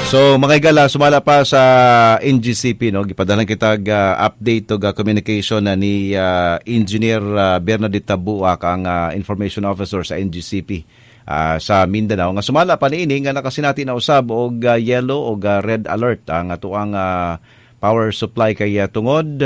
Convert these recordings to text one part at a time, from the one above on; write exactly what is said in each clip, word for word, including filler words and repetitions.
So mga higala, sumala pa sa N G C P, no, gipadalan kita uh, update og uh, communication na ni uh, Engineer uh, Bernadette Tabuak, ang uh, information officer sa N G C P uh, sa Mindanao, nga sumala pa niini nga nakasinati na usab og uh, yellow og uh, red alert ang atoang uh, power supply kay uh, tungod,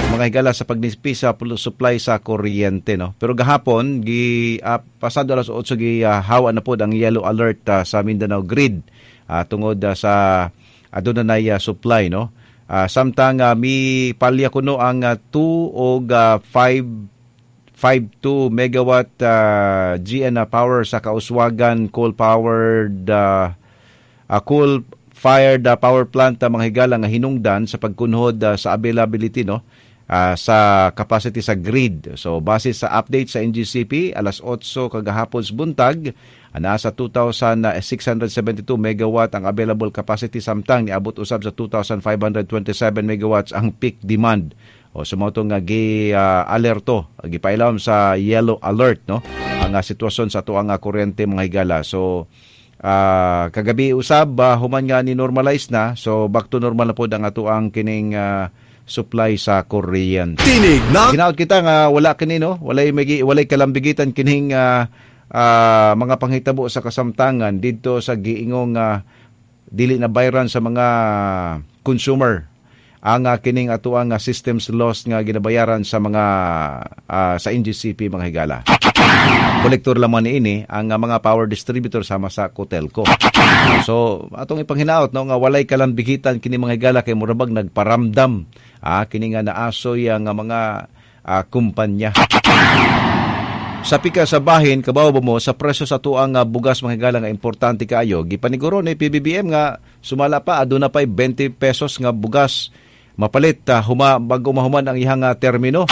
mga higala, sa pagnipis sa supply sa kuryente, no. Pero gahapon gi uh, pasado alas otso, gi uh, hawa na pod ang yellow alert uh, sa Mindanao Grid uh, tungod uh, sa aduna nay uh, supply, no. Uh, samtang uh, mi palya kuno ang two og uh, five five point two megawatt uh, G N uh, power sa Kauswagan coal powered uh, uh, coal fired uh, power plant, uh, mga higala, nga hinungdan sa pagkunhod uh, sa availability, no, uh, sa capacity sa grid. So base sa update sa N G C P alas otso kagahapon sa buntag, nasa two thousand six hundred seventy-two megawatt ang available capacity, samtang niabot usab sa two thousand five hundred twenty-seven megawatts ang peak demand. O so mao nga gi uh, alerto, gipailawom sa yellow alert, no, ang uh, sitwasyon sa atoang uh, kuryente, mga higala. So uh, kagabi usab, uh, human nga ni normalize na, so back to normal na pod ang atoang kining uh, supply sa kuryente. Tinig na Ginaot kita nga wala kini, no, walay magi, walay kalambigitan kining uh, uh, mga panghitabo sa kasamtangan didto sa giingong uh, dili na bayran sa mga consumer ang uh, kining atoang uh, systems loss nga ginabayaran sa mga uh, sa N G C P, mga higala. Kolektor lamang niini ang uh, mga power distributor sama sa Cotelco. So atong ipanghinaot, no, nga walay kalambigitan kini, mga higala, kay murabag nagparamdam ah, kini nga naasoy ang mga uh, kumpanya. Sa pika sa bahin, kabaw ba mo sa presyo sa tuang uh, bugas, mga higala, nga importante kaayo, gipaniguro ni P B B M nga sumala pa aduna pay twenty pesos nga bugas mapalit uh, huma bago mahuman ang ihang uh, termino.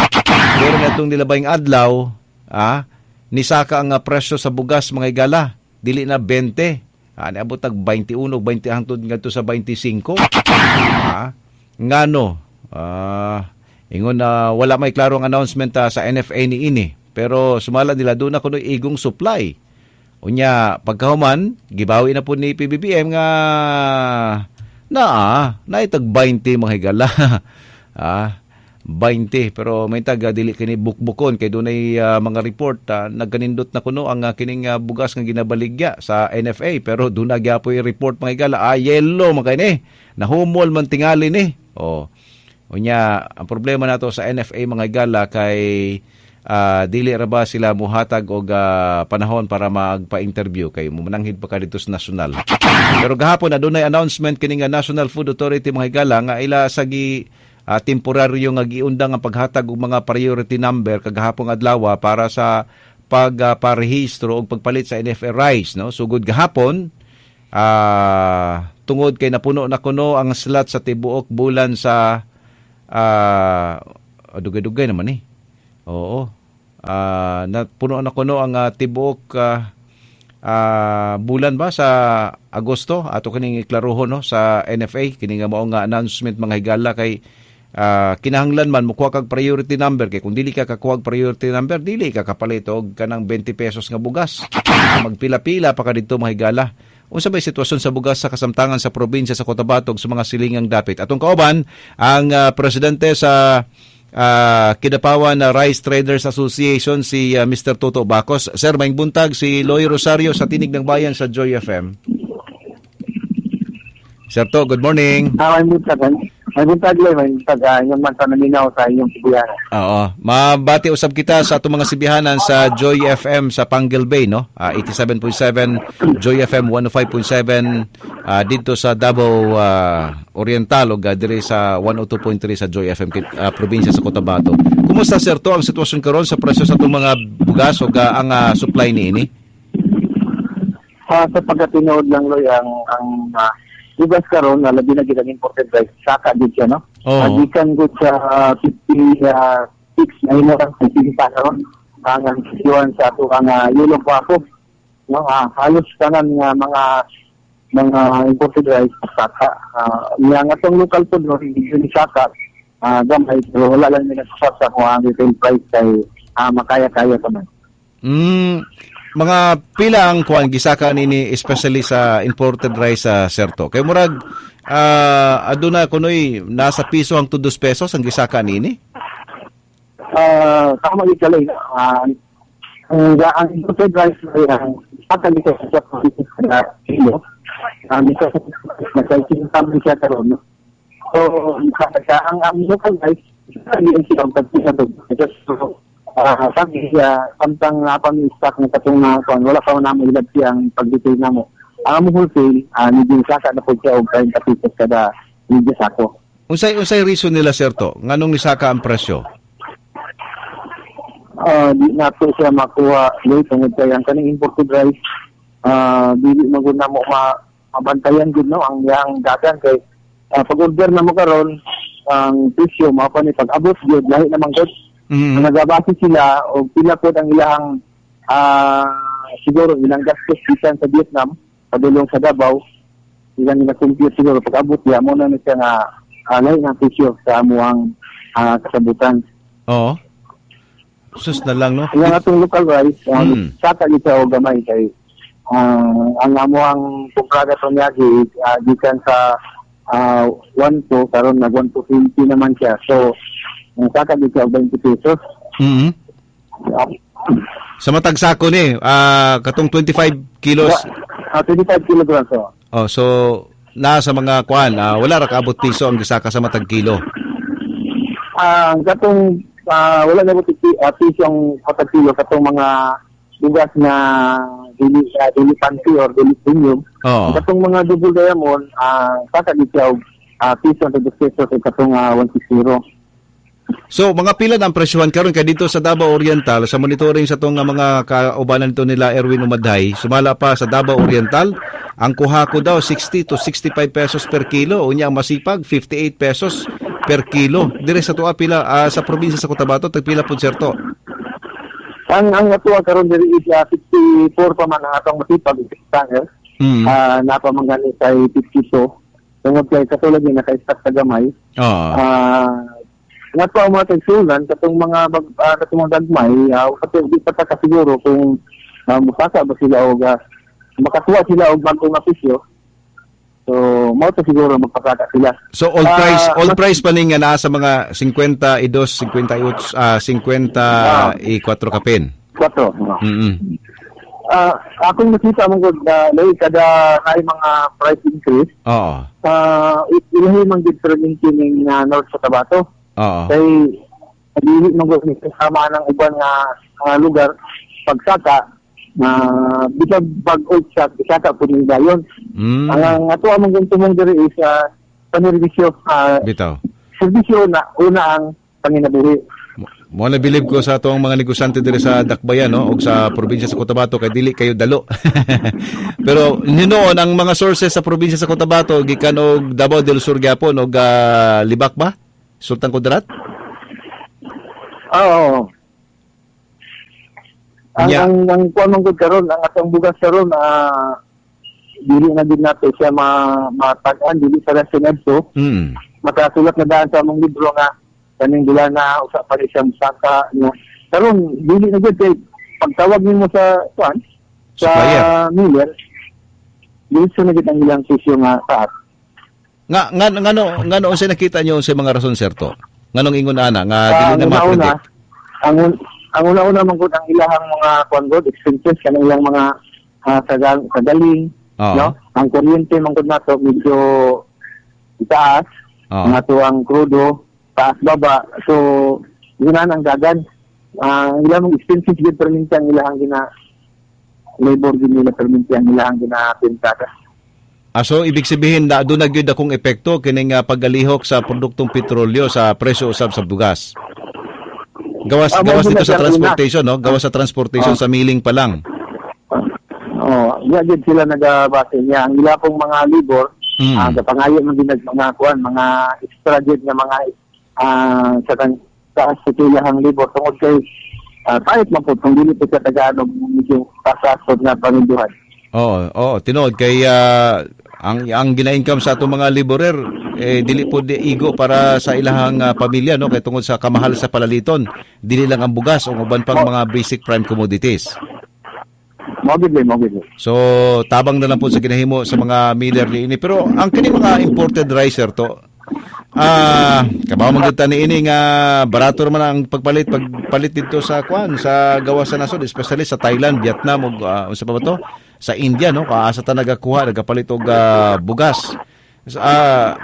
Pero natong nilabayng adlaw, ah, nisaka ang uh, presyo sa bugas, mga higala, dili na twenty. Ah, niabot tag twenty-one, twenty hangtod ngadto sa twenty-five. Ah, ngano? Ah, ingon na uh, wala may klarong announcement uh, sa N F A ni ini. Pero sumala nila, doon na kuno igong supply. Unya, pagkahuman, gibawi na po ni P B B M nga naa, naitag twenty, mga higala. ah, twenty, pero may tag dili kini bukbukon kay dunay uh, mga report uh, nagkanindot na kuno ang uh, kining uh, bugas nga ginabaligya sa N F A, pero doon na gyapoy report, mga higala, ah, yellow man kay ni, nahumol man tingali ni. Oh, unya ang problema nato sa N F A, mga higala, kay uh, dili ra ba sila muhatag og uh, panahon para magpa-interview kay mumananghid pa ka dito sa nasyonal. Pero gahapon adunay announcement kini nga National Food Authority, mga higala, nga ila sa gi uh, temporaryo nga giundang ang paghatag og mga priority number kagahapon adlaw para sa pagparehistro uh, og pagpalit sa N F A rice, no, sugod gahapon, uh, tungod kay napuno na kuno ang slot sa tibuok bulan sa uh, dugay-dugay naman eh. Oo. Uh, napuno na kuno ang uh, tibuok uh, uh, bulan ba sa Agosto. Ato kining iklaruhon, no, sa N F A kini nga mao nga announcement, mga higala, kay uh, kinahanglan man mokuha kag priority number, kay kung dili ka kakuha priority number, dili ka kapalit og kanang twenty pesos nga bugas. Magpila-pila pa ka didto, mga higala. Unsa may sitwasyon sa bugas sa kasamtangan sa probinsya sa Cotabato sa mga silingang dapit? Atong kauban ang uh, presidente sa uh, Kidapawan na Rice Traders Association, si uh, Mister Toto Bacos. Sir, maayong buntag, si Loy Rosario sa Tinig ng Bayan sa Joy F M. Sir To, good morning. Ah, maayong buntag. Maayong buntag, Loy. Maayong buntag. Uh, inyong man sa naminaw sa inyong sibihanan. Oo. Mabati usab kita sa atong mga sibihanan sa Joy F M sa Panguil Bay, no? Uh, eighty-seven point seven, Joy F M one oh five point seven uh, dito sa Davao uh, Oriental ug uh, diri sa one oh two point three sa Joy F M uh, probinsya sa Cotabato. Kumusta, sir, to ang sitwasyon karon sa presyo sa atong mga bugas ug uh, ang uh, supply niini? Uh, sa pagkatinuod lang, Loy, ang ang uh, bugas karon na labi na gid ang imported rice, saka gid siya, no? Oo. Uh, gikan gud sa uh, fifty-six na imo lang fifty karon ang ang sitwasyon sa ato ang uh, yellow guapo, no? Uh, halos tanan nga mga mga imported rice saka. Uh, nga nga atong local food, no, hindi yun saka uh, gamay, pero wala lang nila sa sa kung ang retail price kay uh, makaya-kaya pa man. Mm, Mga pila ang kuan gisaka nini, especially sa imported rice sa serto? Kay murag uh, aduna kunoy nasa piso ang dos pesos ang gisaka nini. Uh, tama gyud kalay. Uh, ang ang imported rice ay ang saka dito sa sa kilo. Ang dito sa nagsa siya karon. No? So, siya ang ang local rice hindi siya ang tagpisa to. So, uh, sabi siya, samtang uh, pang stock ng katong na kuan, wala pa namo ilad siya ang pag-detail namo. Ang among wholesale, uh, medyo saka na po siya og thirty pesos kada medyo sako. Unsay unsay reason nila, serto? Nganong nisaka ang presyo? Uh, di nato siya makuha late tungod kay ang kaning imported rice, uh, dili man gud namo ma mabantayan gud, no, ang iyang dagan kay uh, pag-order na mo karon ang presyo mao pa ni, pag-abot gyud lahi naman gud. Mm-hmm. Nagabase sila og pila pod ang ilahang uh, siguro ilang gastos bisan sa Vietnam padulong sa Davao, ilang gina-compute siguro pag-abot diya mo na ni siya nga uh, lahi ng presyo sa amuang uh, kasabutan. Oo. Sus na lang, no? Ang atong local rice, um, Mm. saka gid siya og gamay kay uh, ang amuang kumprada sa niyagi uh, gikan sa uh, one two, karon nag one two twenty naman siya. So, ang saka gid siya og twenty pesos. Mm-hmm. Uh, Sa matag sako ni, uh, katong twenty-five kilos. Uh, twenty-five kilograms. Oh. Oh, so nasa mga kuan, uh, wala ra kaabot piso ang gisaka sa matag kilo. Ah, uh, katong Uh, wala na po uh, piso ang matag kilo katong mga bugas na dili, uh, dili fancy or dili premium. Oh. Katong mga double diamond, uh, saka di siya og uh, piso ang dos pesos at katong uh, one sixty. So mga pila na ang presyuhan karon kay dito sa Davao Oriental, sa monitoring sa tong mga kaubanan nito nila Erwin Umadhay, sumala pa sa Davao Oriental, ang kuha ko daw sixty to sixty-five pesos per kilo, unya ang masipag fifty-eight pesos per kilo. Dire sa tuwa pila uh, sa probinsya sa Cotabato tagpila pud serto? Ang ang natuwa karon diri is uh, fifty-four pa man ang atong masipag stanger. Mm. Uh, napa man gani kay fifty-two. Tungod kay katulad ni naka-stock sa gamay. Oh. Uh, natuwa mga tagsulan katong mga bag, uh, katong mga gagmay, uh, kato di pa ta kasiguro kung uh, musaka ba sila og uh, makatuwa sila og bag-ong presyo. So, mao to siguro magpasaka sila. So, all uh, price, all price pa ning nga naa sa mga fifty-two, fifty-eight, uh, fifty-four kapin. Kwatro. No. Mm-hmm. Uh, akong nakita mong good na uh, kada ay mga price increase. Oo. Uh, ilahi man gid perminti ning uh, North Cotabato. Oo. Kay dili man gud ni kasama ng uban nga uh, lugar pagsaka na uh, bitag bag-o siya, isaka po ning dayon. Mm. Ang ang ato among tumong diri is uh, panerbisyo, uh, bitaw. Serbisyo na una ang panginabuhi. Mo na bilib ko sa atong mga negosyante diri sa Dakbayan, no, og sa probinsya sa Cotabato kay dili kayo dalo. Pero noon ang mga sources sa probinsya sa Cotabato gikan og Davao del Sur gyapon og uh, Libak ba? Sultan Kudarat? Oo. Ang Yeah. ang ang kuan man gud karon, ang atong bugas karon uh, dili na din nato siya ma matag-an dili sa Senadto. Mm. Makasulat na daan sa among libro nga kaning dula na usa pa rin siya musaka no. Karon dili na gud kay pagtawag nimo sa kuan sa Supplier. miller, dili siya na gid ang ilang presyo nga taas. Nga nga ngano ngano unsay nakita niyo unsay mga rason serto? Nganong ingon ana nga dili Ang na una-una, ma-predict? ang ang una-una man gud ang ilahang mga kuan gud expenses kanang ilang mga uh, sagal, sagaling, Oo. no? Ang kuryente man gud nato medyo itaas. Oo. Ang ato ang krudo taas baba. So yun na ang dagan. Ang uh, ilang expenses gid perminti ang ilahang gina labor gid nila perminti ang ilahang ginapintada. Ah, so ibig sabihin na doon na gyud akong epekto kining uh, paggalihok sa produktong petrolyo sa presyo usab sa bugas. Gawas Ah, gawas mo dito sa na siya transportation, no? Gawas sa transportation Ah. sa milling pa lang. Oh, iya gid sila nagabase niya. Ang ila pong mga labor, Mm. ah, kapangayo man gid mga kuan, mga extra gid nga mga ah sa kan taas sa ilahang labor tungod kay uh, pahit man pud kung dili po sa tagaan og medyo pasasod nga panginduhan. Oo, oo, tinuod kay ah, ang ang gina-income sa atong mga laborer eh dili po di igo para sa ilahang ah, pamilya, no, kay tungod sa kamahal sa palaliton, dili lang ang bugas o uban pang mga basic prime commodities. Mao gid, mao gid. So tabang na lang po sa ginahimo sa mga miller niini. Pero ang kining mga imported rice, sir, to, ah, kabaw man gyud ta niini nga barato man ang pagpalit pagpalit dito sa kwan, sa gawas sa nasod, especially sa Thailand, Vietnam ug uh, unsa pa ba to? Sa India, no, kaasa ta nagakuha, nagapalit og uh, bugas. Ah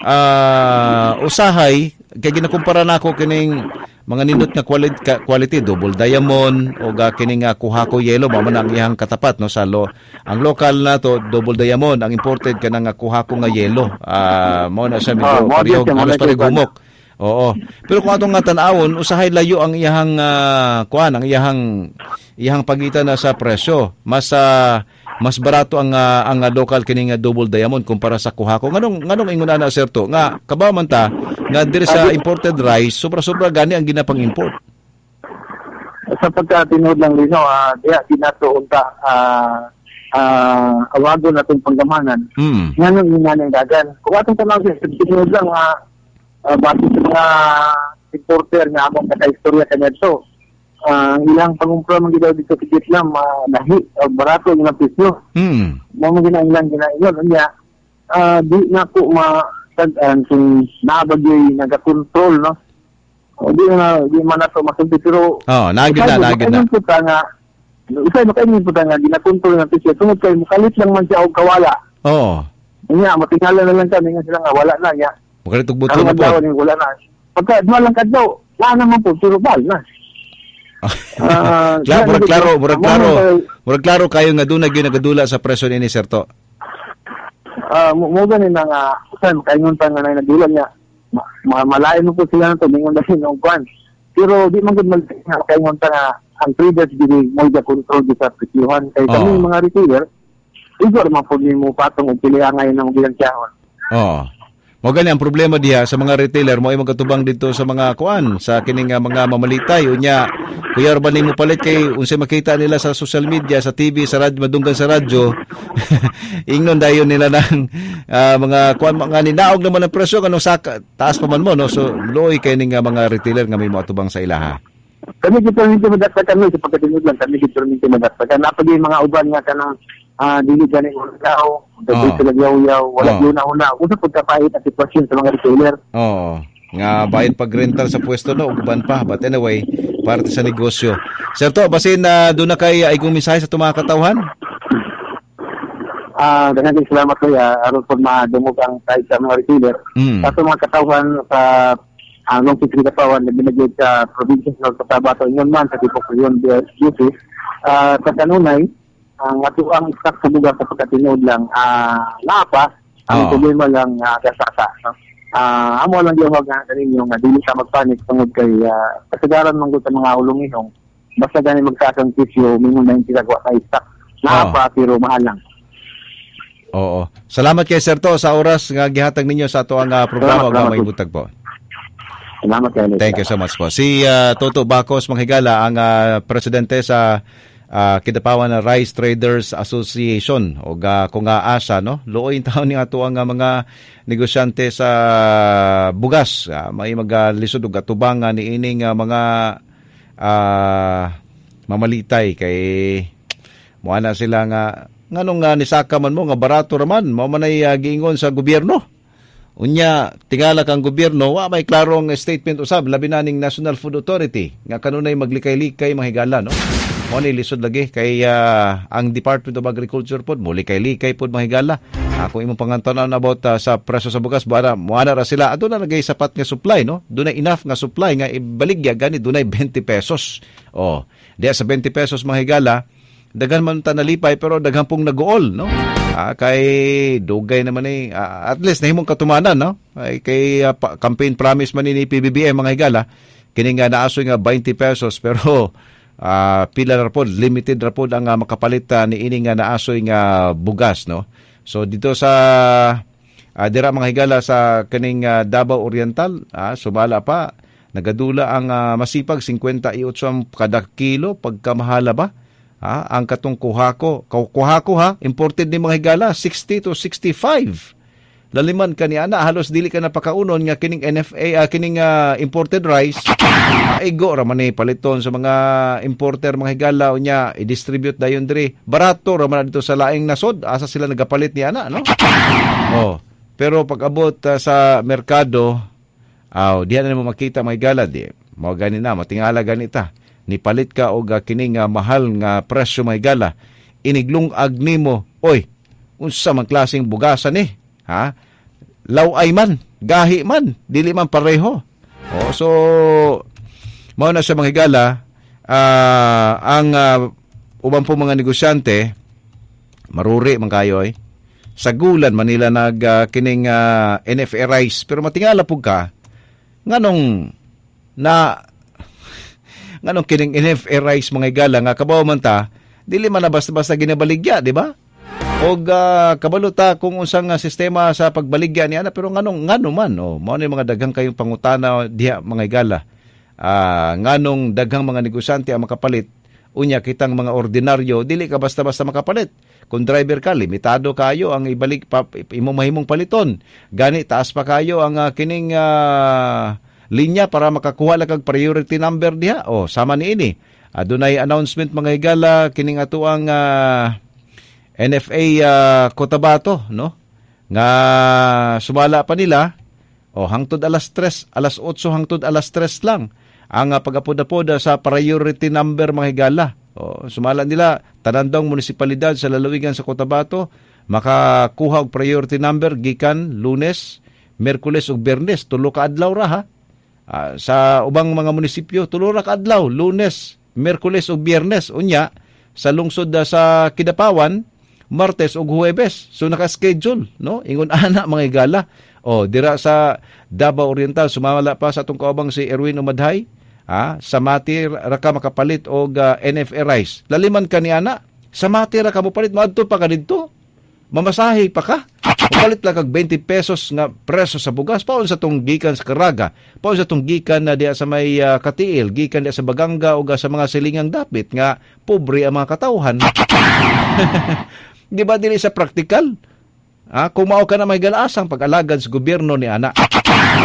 uh, usahay kay ginakumpara nako kining mga nindot nga quality, quality Double Diamond o ga kining uh, Kuhako Yellow, mao man ang iyang katapat, no, sa lo, ang local na to Double Diamond, ang imported kanang uh, Kuhako nga yellow. Ah, mao na siya medyo Oh, pareho, halos pareho gumok. Oo. Pero kung atong nga tan-awon, usahay layo ang iyahang uh, kuan, ang iyahang iyahang pagitan na sa presyo. Mas uh, mas barato ang uh, ang uh, local kining uh, Double Diamond kumpara sa Kuhako. Nganong nganong ingon ana, sir, to? Nga kabaw man ta nga diri sa imported rice, sobra-sobra gani ang ginapang-import. Sa pagkatinuod lang lino, uh, diya di nato unta uh, uh, awago na itong panggamanan. Mm. Nganong ingon ang dagan. Kung atong tanaw sa tinuod lang uh, uh, base sa mga importer nga among kakaistorya kaniadto, Uh, ilang pangumpra man gid dito sa Vietnam, uh, lahi o barato ang ilang presyo. Mm. Mao man gina ilang ginaingon unya, uh, di na ko masag-an kung naa ba gyud nagakontrol, no. O di na di man nato masulti, pero oh, naagid na, naagid na. Usa nga usa makaingon pud nga ginakontrol ng presyo tungod kay mukalit lang man siya og kawala. Oo. Unya matingala na lang kami nga sila nga wala na niya. Mukalit og buto na po. Wala na. Pagka duha lang kadlaw, wala naman po pero bal na. Uh, klaro, murag klaro, murag klaro. Murag klaro kayo nga doon na nagadula sa presyo ni sir to. Ah, uh, mo gani na nga usan kaingon pa nga nagdula niya. Ma malain mo po sila nato ningon dali og kwan. Pero di man gud mal kaingon pa nga ang traders dili mo ga control di sa presyuhan kay kami oh. Mga retailer igor man pud nimo patong og pili angay ng bilansyahon. Oo. Oh. Mo gani ang problema diha sa mga retailer, mo ay magkatubang dito sa mga kuan, sa kining uh, mga mamalitay unya kuya ba nimo palit kay unsay makita nila sa social media, sa T V, sa radyo, madunggan sa radyo. Ingnon dayon nila ng uh, mga kuan, mga ninaog naman ang presyo kanong saka taas pa man mo, no. So luoy kay ning uh, mga retailer nga may moatubang sa ilaha. Kami gid perminti madaktakan kami sa pagkatinud lang, kami gid perminti madaktakan. Napagay mga uban nga kanang ah, dili gani ulaw, dili sila yaw-yaw, wala Oh. yun na una. Usa pud kapait ang sitwasyon sa mga retailer. Oo. Nga bayad pag rental sa pwesto, no, ug uban pa. But anyway, parte sa negosyo. Sir to, basin na uh, doon na kay uh, igong mensahe sa itong mga katawhan. Ah, daghang salamat kuya, aron pud madungog ang kahit sa mga retailer. Mm. Sa atong mga katawhan sa ang uh, Long Katawan na binagay sa probinsya sa Cotabato, ingon man sa Tipok Region Duty, uh, sa kanunay, ang ato ang stock sa bugas sa pagkatinuod lang ah uh, naa pa ang Oh. problema lang uh, kasasa, no? Ah, amo lang gyud nga kaninyo nga dili ka magpanik tungod kay uh, kasagaran man gud sa mga ulong-ihong basta gani magtaas ang presyo mingon na sila wa sa stock naa Oh. pa pero mahal lang. Oo. Salamat kay Sir to sa oras nga gihatag ninyo sa ato ang uh, programa Salamat, ug salamat may po. butag po. Salamat kay. Thank you so much po. Si uh, Toto Bacos Manghigala, ang uh, presidente sa uh, Kidapawan na Rice Traders Association o uh, kung nga asa, no, luoy taon ni ato ang uh, mga negosyante sa bugas, uh, may magalisod og atubang uh, niining uh, mga uh, mamalitay kay moana sila nga nganong uh, nisaka man mo nga barato ra man, mao man ay uh, giingon sa gobyerno. Unya, tingala kang gobyerno, wa may klarong statement usab, labi na ning National Food Authority nga kanunay maglikay-likay mahigala, no. Mo ni lisod lagi kay uh, ang Department of Agriculture pod molikay-likay pod mahigala. Ako imong pangantan-aon about uh, sa presyo sa bugas, bara moana ra sila. Aduna na gay sapat nga supply, no. Dunay enough nga supply nga ibaligya gani dunay twenty pesos. Oh, diya sa twenty pesos mahigala, daghan man ta nalipay pero daghan pong nagool, no. Ah, kay dugay naman eh, uh, at least nahimong katumanan, no. Ay kay uh, pa, campaign promise man ni P B B M mga higala, kini nga naasoy nga twenty pesos pero uh, pila ra pod, limited ra pod ang uh, makapalit uh, niini nga naasoy nga bugas, no. So dito sa uh, dira mga higala sa kining uh, Davao Oriental, ah, sumala pa nagadula ang uh, masipag fifty-eight ang kada kilo pagkamahala ba. Ah, ang katong kuhako, kuhako ha, imported ni mga higala sixty to sixty-five. Laliman kani ana, halos dili ka napakaunon nga kining N F A, uh, kining uh, imported rice Igo ra man ni paliton sa mga importer, mga higala, unya i-distribute dayon diri. Barato ra man dito sa laing nasod, asa sila nagapalit ni ana, no? Oh, pero pag abot uh, sa merkado, aw, diha na mo makita, mga higala, di mao gani na matingala ganita. Nipalit ka og uh, kini nga mahal nga presyo, mga higala. Iniglungag nimo, oy, unsa man klaseng bugasan ni? Ha? Laway man, gahi man, dili man pareho. Oh, so mao na sa mga higala, uh, ang uh, uban po mga negosyante, maruri man kayo eh. Sa gulan Manila nag uh, kining uh, N F A rice, pero matingala pug ka nganong na nganong kining N F A rice, mga higala, nga kabaw man ta, dili man na basta-basta ginabaligya, di ba? Og uh, kabalo ta kung unsang uh, sistema sa pagbaligya niya, pero nganong ngano man, oh, mao ni mga daghang kayong pangutana diha, mga higala. Uh, nganong daghang mga negosyante ang makapalit, unya kitang mga ordinaryo dili ka basta-basta makapalit. Kung driver ka, limitado kayo ang ibalik pa, imong mahimong paliton. Gani taas pa kayo ang uh, kining uh, linya para makakuha lang kag priority number diha. O sama niini. Adunay announcement, mga higala, kining atuang uh, N F A uh, Cotabato, no? Nga sumala pa nila, o hangtod alas tres, alas otso hangtod alas tres lang ang uh, pag-apoda-poda sa priority number, mga higala. O, sumala nila tanan daw munisipalidad sa lalawigan sa Cotabato makakuha og priority number gikan Lunes, Miyerkules ug Biyernes, tulo ka adlaw ra ha. Uh, sa ubang mga munisipyo tulo ra ka adlaw, Lunes, Miyerkules ug Biyernes. Unya sa lungsod uh, sa Kidapawan, Martes ug Huwebes. So naka-schedule, no? Ingon ana, mga higala. O dira sa Davao Oriental, sumala pa sa atong kaubang si Erwin Umadhay, ah, sa Mati ra ka makapalit og uh, N F A rice. Laliman ka ni ana, sa Mati ra ka mopalit, moadto pa ka didto. Mamasahe pa ka. Mopalit lang kag twenty pesos nga preso sa bugas. Paon sa tong gikan sa Caraga, paon sa tong gikan na diha sa may uh, Katiil, gikan diha sa Baganga o sa mga silingang dapit nga pobre ang mga katawhan. Di ba dili sa praktikal? Ah, kung mao ka na may galaasang pag-alagad sa gobyerno ni ana.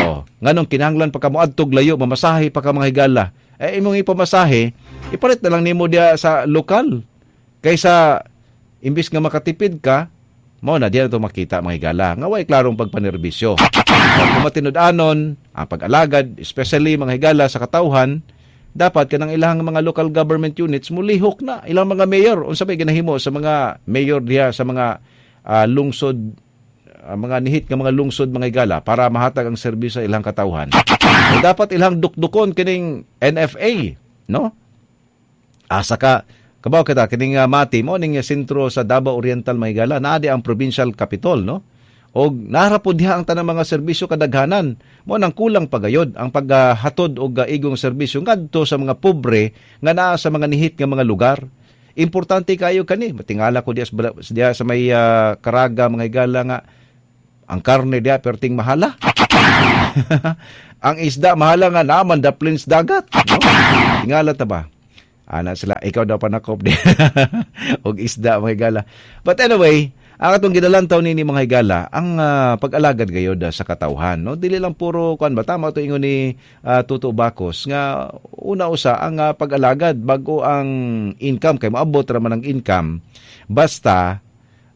Oh, nganong kinahanglan pa ka moadtog layo, mamasahe pa ka, mga higala. Eh imong ipamasahe, ipalit na lang nimo diha sa lokal. Kaysa imbis nga makatipid ka, mao na diha to makita, mga higala. Nga way klarong pagpanerbisyo. Oh, kung matinud-anon ang pag-alagad, especially, mga higala, sa katawhan, dapat kanang ilang mga local government units mulihok na ilang mga mayor. Unsa may ginahimo sa mga mayor diha sa mga uh, lungsod, uh, mga nihit nga mga lungsod, mga higala, para mahatag ang serbisyo sa ilang katawhan. So, dapat ilang dukdukon kining N F A, no? Asa ka kabaw kita kining uh, Mati mo ning sentro sa Davao Oriental, mga higala, naa di ang provincial capital, no? Og nara po diha ang tanang mga serbisyo kadaghanan. Mo nang kulang pagayod ang paghatod og igong serbisyo ngadto sa mga pobre nga naa sa mga nihit nga mga lugar. Importante kayo kani. Matingala ko diha, diha sa may uh, Caraga, mga higala, nga ang karne diha perting mahala. Ang isda mahala nga naman daplin sa dagat, no? Tingala ta ba? Ana sila, ikaw daw panakop di og isda, mga higala. But anyway, ang atong ginalantaw nini, mga higala, ang uh, pag-alagad gayod uh, sa katawhan, no? Dili lang puro kuan ba, tama to ingon ni uh, Tuto Bacos nga una usa ang uh, pag-alagad bago ang income, kay moabot ra man ang income basta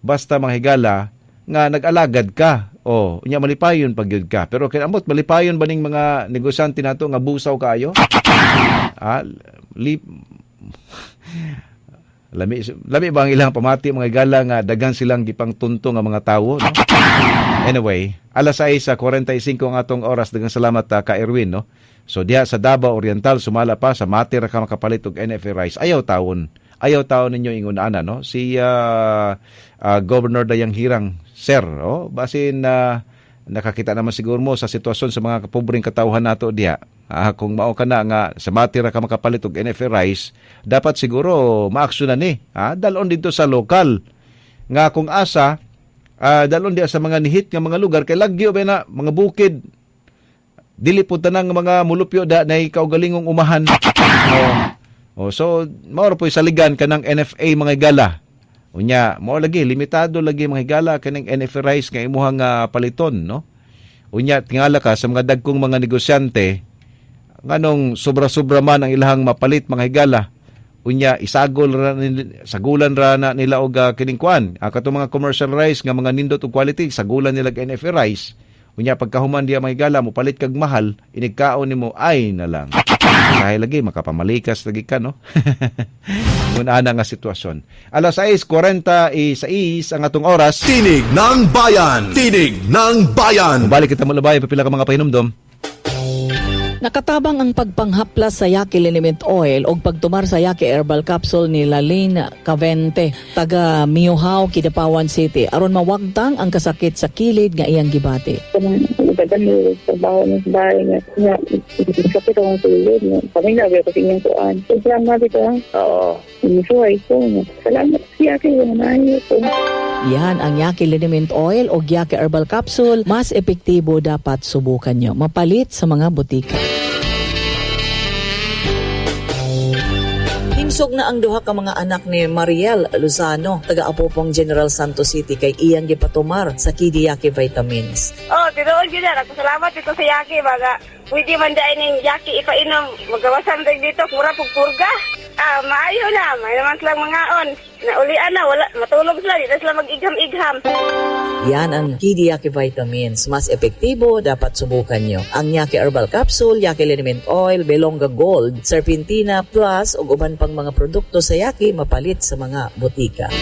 basta mga higala nga nag-alagad ka. O unya malipayon pag gyud ka. Pero kay ambot malipayon ba ning mga negosyante nato nga busaw kaayo? Ah, li Lami, lami ba ang ilang pamati, mga higala, nga daghan silang gipangtunto nga mga tawo, no? Anyway, alas sais kuwarenta y singko ang atong oras. Daghang salamat uh, ka Erwin, no? So diha sa Davao Oriental, sumala pa sa Mati ra ka makapalit og N F A rice. Ayaw tawon. Ayaw tawon ninyo ingon ana, no? Si uh, uh, Governor Dayang Hirang, sir, oh, basin uh, nakakita naman siguro mo sa sitwasyon sa mga pobreng katawhan nato diha. Ah, kung mao ka na nga sa Mati ra ka makapalit og N F A rice, dapat siguro maaksyonan ni. Ah, dalon dito sa lokal. Nga kung asa, ah, dalon diha sa mga nihit nga mga lugar kay lagyo ba na mga bukid. Dili pud tanang mga mulupyo da nay kaugalingong umahan. Oh. Oh, so mao ra po'y saligan kanang N F A, mga higala. Unya, mao lagi limitado lagi, mga higala, kaning N F A rice nga imuhang uh, paliton, no? Unya tingala ka sa mga dagkong mga negosyante Nganong sobra-sobra man ang ilahang mapalit, mga higala, unya isagol ra sagulan ra na nila og uh, kining kuan, uh, katong mga commercial rice nga mga nindot og quality, sagulan nila og N F A rice. Unya pagkahuman diya, mga higala, mo palit kag mahal, inigkaon nimo, ay na lang. Dahil lagi makapamalikas lagi ka, no? Muna nga sitwasyon. Alas sais kuwarenta y sais ang atong oras. Tinig ng Bayan! Tinig ng Bayan! Balik kita mo labay, papila ka mga pahinumdom. Nakatabang ang pagpanghaplas sa Yaki Liniment Oil o pagtumar sa Yaki Herbal Capsule ni Lalene Cavente, taga Miyuhaw, Kidapawan City, aron mawagtang ang kasakit sa kilid nga iyang gibati. Dagan mo trabaho ng bahay nga nga sakit akong tulog nga kami na ko sa inyong kuan. So salamat ito. Oo. Misuhay ko. Salamat siya kay maayo ko. Yan ang Yaki Liniment Oil o Yaki Herbal Capsule. Mas epektibo, dapat subukan nyo. Mapalit sa mga butika. Himsog na ang duha ka mga anak ni Mariel Luzano, taga Apopong, General Santos City, kay iyang gipatumar sa Kidiyaki Vitamins. Oh, tinuod yun na. Nagpasalamat ito sa Yaki. Baga, pwede man dahil ng Yaki ipainom. Magawasan din dito, mura pug purga. Ah, maayo na. May naman silang mangaon. Naulian na, wala, matulog sila. Dito sila mag-igham-igham. Yan ang Kidiyaki Vitamins. Mas epektibo, dapat subukan nyo. Ang Yaki Herbal Capsule, Yaki Liniment Oil, Belonga Gold, Serpentina Plus, ug uban pang mga produkto sa Yaki, mapalit sa mga butika.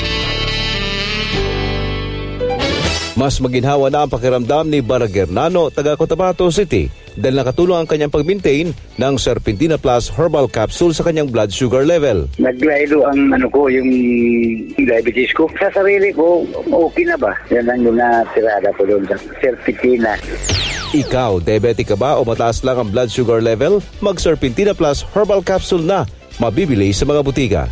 Mas maginhawa na ang pakiramdam ni Baragernano, taga Cotabato City, dahil nakatulong ang kanyang pag-maintain ng Serpentina Plus Herbal Capsule sa kanyang blood sugar level. Naglaylo ang ano ko, yung diabetes ko. Sa sarili ko, okay na ba? Yan ang natirada ko doon sa Serpentina. Ikaw, diabetic ka ba o mataas lang ang blood sugar level? Mag-Serpentina Plus Herbal Capsule na. Mabibili sa mga butika.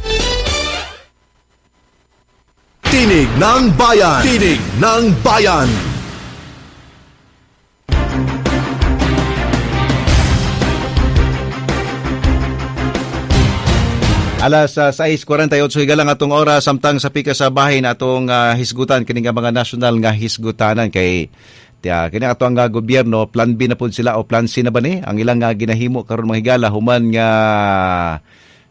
Tinig ng Bayan! Tinig ng Bayan! Alas uh, sais kuwarenta y otso higala atong oras, samtang sa pika sa bahin atong uh, hisgutan kini nga mga nasyonal nga hisgutanan kay tiya kini ato ang uh, gobyerno, plan B na pud sila o plan C na ba ni ang ilang uh, ginahimo karon, mga higala, human nga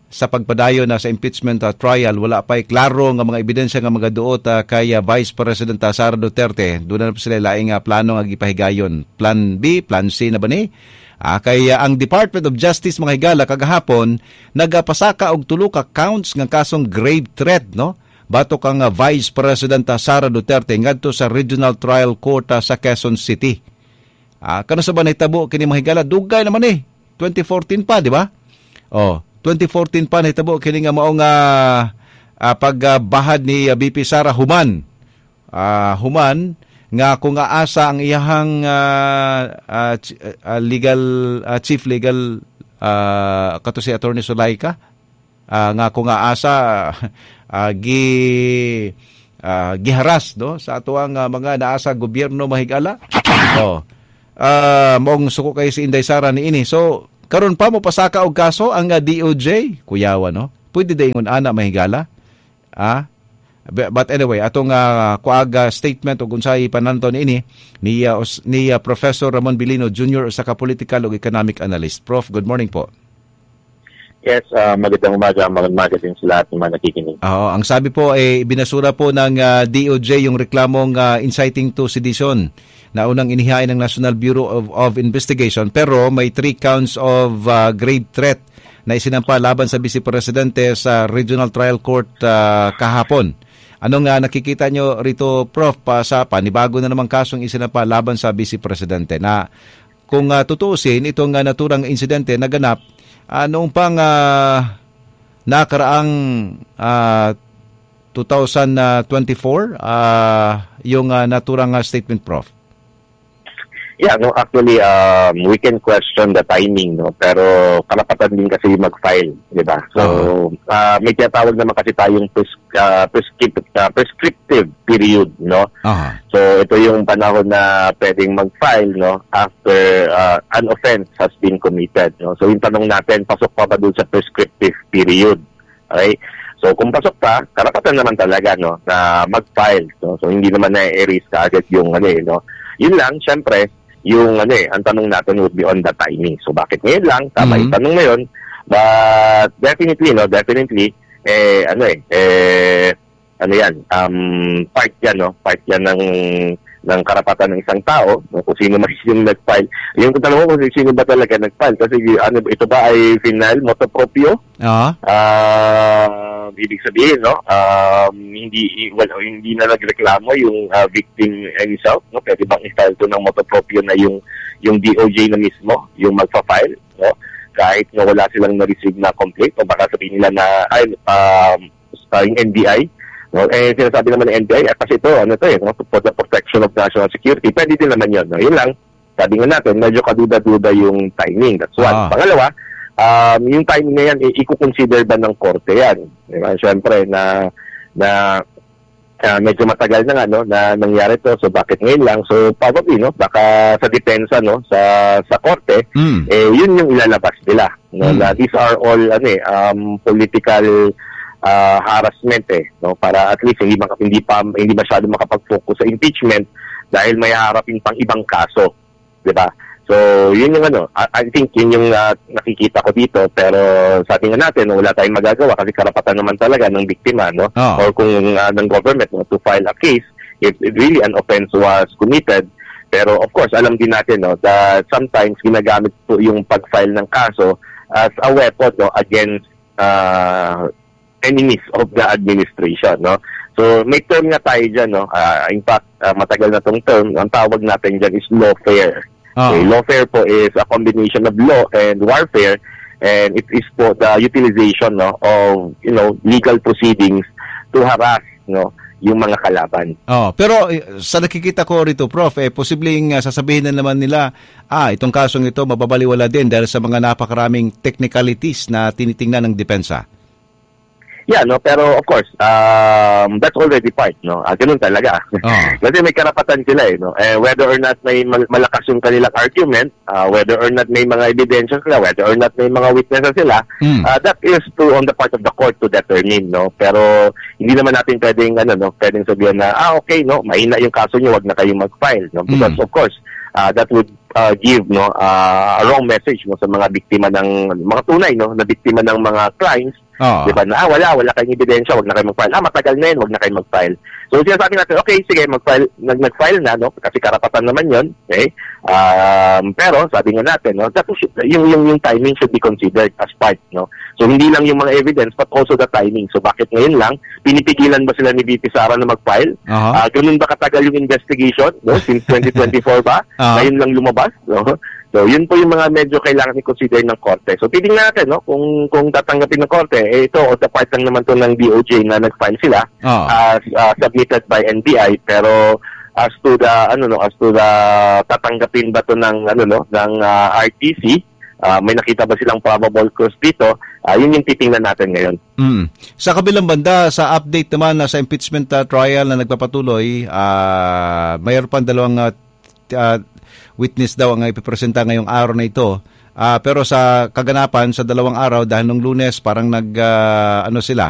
sa pagpadayon na sa impeachment uh, trial wala pa'y klaro nga mga ebidensya nga magaduot uh, kay uh, Vice President uh, Sara Duterte. Doon na sila laing uh, plano nga gipahigayon, plan B, plan C na ba ni? Ah, kay uh, ang Department of Justice, mga higala, kagahapon nagapasaka og tulo ka counts nga kasong grave threat, no, batok ang uh, Vice President uh, Sara Duterte ngadto sa Regional Trial Court uh, sa Quezon City. Ah, kano sa ba nahitabo kini, mga higala? Dugay naman eh, twenty fourteen pa, di ba? Oh, twenty fourteen pa nahitabo kini nga mao nga uh, pagbahad ni uh, V P Sara human uh, human nga kung aasa ang iyahang uh, uh, uh, legal uh, chief legal uh, kato si Attorney Sulaika, uh, nga kung aasa uh, gi uh, giharas, no, sa atoang uh, mga naa sa gobyerno, mahigala. Oh, uh, mong suko kay si Inday Sara ni ini. So karon pa mo pasaka og kaso ang uh, D O J, kuyawa, no? Pwede dayon ana, mahigala, ah. But anyway, atong uh, kuaga statement o unsay pananto niini ni uh, ni uh, Professor Ramon Bilino Junior, usa ka political ug economic analyst. Prof, good morning po. Yes, uh, magandang umaga, magandang umaga din sa lahat ng mga nakikinig. Oo, ang sabi po ay eh, binasura po ng uh, D O J yung reklamong uh, inciting to sedition na unang inihain ng National Bureau of, of Investigation, pero may three counts of uh, grave threat na isinampa laban sa Vice Presidente sa Regional Trial Court uh, kahapon. Ano nga nakikita nyo rito, Prof, pa sa panibago na namang kasong isinampa laban sa Vice Presidente na kung uh, tutuusin, itong uh, naturang insidente naganap uh, noong pang uh, nakaraang uh, twenty twenty-four, uh, yung uh, naturang uh, statement, Prof? Yeah, no, actually, um, we can question the timing, no, pero karapatan din kasi mag-file, di ba? So, uh, may tinatawag naman kasi tayong pres- uh, prescriptive, uh, prescriptive period, no? Uh-huh. So, ito yung panahon na pwedeng mag-file, no, after uh, an offense has been committed, no? So, yung tanong natin, pasok pa ba dun sa prescriptive period? Okay? So, kung pasok pa, karapatan naman talaga, no, na mag-file, no? So, hindi naman na-erase kaagad yung ano, eh, no? Yun lang, syempre, yung ano eh, ang tanong natin would be on the timing. So bakit ngayon lang? Tama Mhm. yung tanong na yun. But definitely, no, definitely, eh, ano eh, eh, ano yan, um, part yan, no, part yan ng ng karapatan ng isang tao, no, kung sino man yung nag-file. Yung tanong mo kung sino ba talaga nag-file, kasi ano, ito ba ay final, motu proprio? Ah. Ah, ibig sabihin, no, um, hindi well, hindi na nagreklamo yung ah, victim himself, no? Pwede bang i-file to ng motu proprio na yung yung D O J na mismo yung magfa-file, no? Kahit na wala silang na-receive na complaint o baka sabihin nila na ay um, ah, yung N B I, no? Eh, sinasabi naman ng N B I, eh, kasi ito, ano to eh, no? For the protection of national security, pwede din naman yun, no? Yun lang, sabi nga natin, medyo kaduda-duda yung timing. That's one. Ah. Pangalawa, um, yung timing na yan, eh, i-consider ba ng korte yan? Di ba? Siyempre, na, na ah, medyo matagal na nga, no, na nangyari to. So, bakit ngayon lang? So, probably, no, baka sa depensa, no, sa, sa korte, Mm. eh, yun yung ilalabas nila. No, Mm. na these are all, ano eh, um, political ah, harassment eh, no, para at least hindi maka- hindi pa hindi masyado makapag-focus sa impeachment dahil may haharapin pang ibang kaso, 'di ba? So, yun yung ano, I, I think yun yung ah, nakikita ko dito, pero sabi nga natin, no, wala tayong magagawa kasi karapatan naman talaga ng biktima, no? Oo. Or kung ah, ng government, no, to file a case if really an offense was committed. Pero of course, alam din natin, no, that sometimes ginagamit po yung pag-file ng kaso as a weapon, no, against uh, enemies of the administration, no? So may term nga tayo dyan, no? Ah, in fact, ah, matagal na tong term, ang tawag natin dyan is lawfare. Ah. Okay, lawfare po is a combination of law and warfare, and it is po the utilization, no, of you know legal proceedings to harass, no, yung mga kalaban. Oh, pero eh, sa nakikita ko rito, Prof, eh, posibleng uh, sasabihin na naman nila, ah, itong kasong ito mababaliwala din dahil sa mga napakaraming technicalities na tinitingnan ng depensa. Yeah, no, pero of course, um, that's already part, no. Ah, ganun talaga. Oh. Kasi may karapatan sila eh, no. Eh, whether or not may mal- malakas yung kanilang argument, ah, whether or not may mga ebidensya sila, whether or not may mga witnesses sila, Mm. ah, that is to on the part of the court to determine, no. Pero hindi naman natin pwedeng ano, no, pwedeng sabihin na ah, okay, no, mahina yung kaso niyo, wag na kayong mag-file, no. Because Mm. of course, ah, that would ah, give, no, ah, a wrong message, no, sa mga biktima ng mga tunay, no, na biktima ng mga crimes. Oh. Di ba? Na, ah, wala, wala kayong ebidensya, wag na kayo mag-file. Ah, matagal na yun, wag na kayo mag-file. So, sinasabi natin, okay, sige, mag-file, nag- nag-file na, no? Kasi karapatan naman yun, okay? Um, pero, sabi nga natin, no, that should, yung, yung, yung timing should be considered as part, no? So, hindi lang yung mga evidence, but also the timing. So, bakit ngayon lang? Pinipigilan ba sila ni V P Sara na mag-file? Aha. Ah, ganun ba katagal yung investigation, no? Since twenty twenty-four ba? Ah. Ngayon lang lumabas, no? So, yun po yung mga medyo kailangan i-consider ng korte. So, titingnan natin, no, kung kung tatanggapin ng korte, eh, ito, on the part lang naman to ng D O J na nag-file sila Ah. as uh, submitted by N B I, pero as to the ano, no, as to the tatanggapin ba to ng ano, no, ng ah, R T C, ah, may nakita ba silang probable cause dito? Ah, yun yung titingnan natin ngayon. Mm. Sa kabilang banda, sa update naman na sa impeachment uh, trial na nagpapatuloy, ah mayroon pang dalawang uh, t- ah, witness daw ang ipipresenta ngayong araw na ito. Ah, pero sa kaganapan sa dalawang araw, dahil nung Lunes parang nag ah, ano sila,